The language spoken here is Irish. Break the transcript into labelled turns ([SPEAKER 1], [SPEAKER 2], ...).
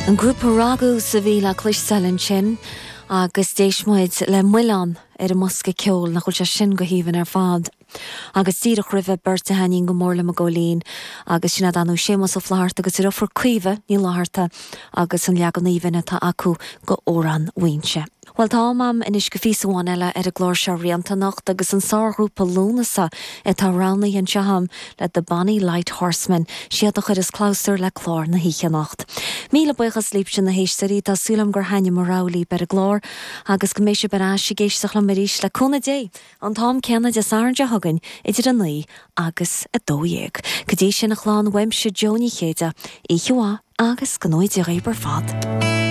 [SPEAKER 1] An grúpa Ragús a bhí le cloisteáil ansin agus d'éist muid le Muileann ar an mbosca ceoil, nach bhfuil sé sin go haoibhinn ar fad. Agus díreach roimhe, beirt a thaitníonn go mór liom a Góilín agus sin iad ar ndóigh Séamus Ó Flaithearta agus a dheirfiúr Caoimhe Ní Fhlatharta agus an leagan aoibhinn atá acu go Amhrán Mhaínse. Bhuel, tá am a'm anois go phíosa amháin eile ar an gclár seo Rianta anocht agus an sárghrúpa Lúnasa atá roghnaithe anseo a'm le The Bonny Light Horseman, siad a chuireas clabhsúr le clár na hoíche anocht. Míle buíochas libhse na héisteoirí, tá súil a'm gur thaitnigh mo rogha libh ar an gclár agus go mbeidh sibh ar ais ag éisteacht liom arís le cúnamh Dé an t-am céanna Dé Sathairn seo chugainn idir 9 agus 12. Go dtí sin a chlann, uaimse Jó Ní Chéide, oíche mhaith agus go ngnóthaí Dia dhaoibh ar fad.